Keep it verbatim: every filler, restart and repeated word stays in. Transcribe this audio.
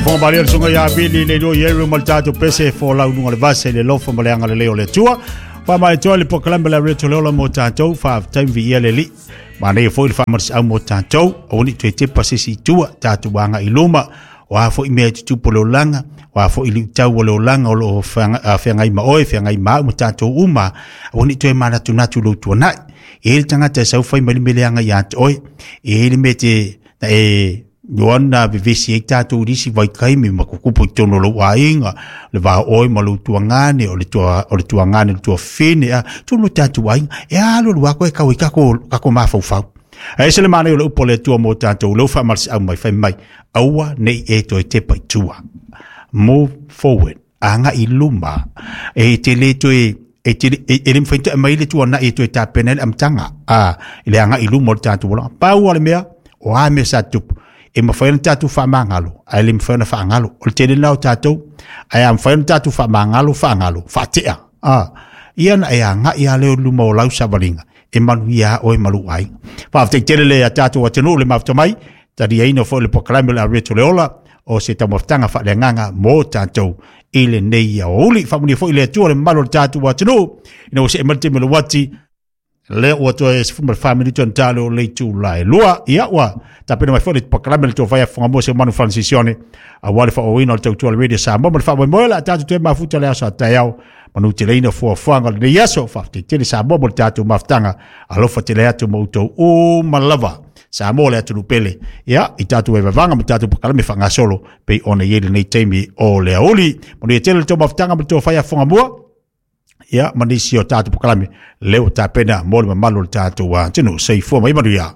Fo mari sunga ya bili le lo yeru mal tato pese fo la unga le vase le lofo ma le anga le leo le tua. Fa mai toa le pokalame la reto le ola mo tatou fa time vi ia le li. Ma nei fo le fa mar au mo tatou o ni te te pasisi i tua tatou anga i luma. O a fo i mea tutupu le olanga, o a fo i liutau o le olanga o lo whangai ma oe, whangai ma au ma tatou uma. O ni toe manatu natu lo tuanai. E hele tangata e saufai mai le meleanga ia te oe. E hele me te na e Ioana vevesi ai tātou risi vai kaimi ma kukupu i tono lou aiga, le vā oe ma lou tuangane, o le tua, o le tuangane, le tuafine, a, tonu tātou aiga, e alo lu ako e kau i kako, kako mafaufau. A ese le mana o le upo le tua mō tātou, leu whaamarisi au mai whai mai, aua nei e toe te pai tua. Move forward, anga i luma, e te le toe, e te e, e le mwhainta e mai le tua na e toe tā pena le amtanga, a, le anga i luma o le tātou wala. Pau ale mea, o a mea sa tupu, e mawhai na tātou whaamangalo, a le mawhai na whaangalo. O le tele nao tātou, a mawhai na tātou whaamangalo, whaangalo, whaatea. A, ia na e a ngā ia leo luma o lau savalinga, e manu ia o e malu ai. Whaafte tele le a tātou atenu le mawhta mai, tari aina fo le pokalame le a reto le ola, o se taumafutaga faaleagaga mo tatou i lenei aoauli. Faamanuia foi le Atua le mamalu o le tatou atunuu ina ua see mai le taimi o le uati le ua toe sefulu ma le fa minuti ona tale o le itula e lua. Ia ua tapena mai foi le pakalame le tofai afogamoa se manu Francis-Sione aua le faaauauina o le tautua le Radio Samoa ma le faamoemoe o le a tatou toe mafuta le aso a taeao manu teleina fuafuaga o lenei aso. Faafetai tele Samoa mo le tatou mafutaga, alofa tele atu ma outou uma lava. Samoa le atunuu pele, ia i tatou vaevaevaga ma tatou pakalame faagasolo pei ona i ai lenei taimi o le aoauli. Manuia tele le tou mafutaga ma le tofai afogamua, ia ma nisi o tatou pakalame lea ua tapena mo le mamalu o le tatou atunuu. Soifua ma ia manuia.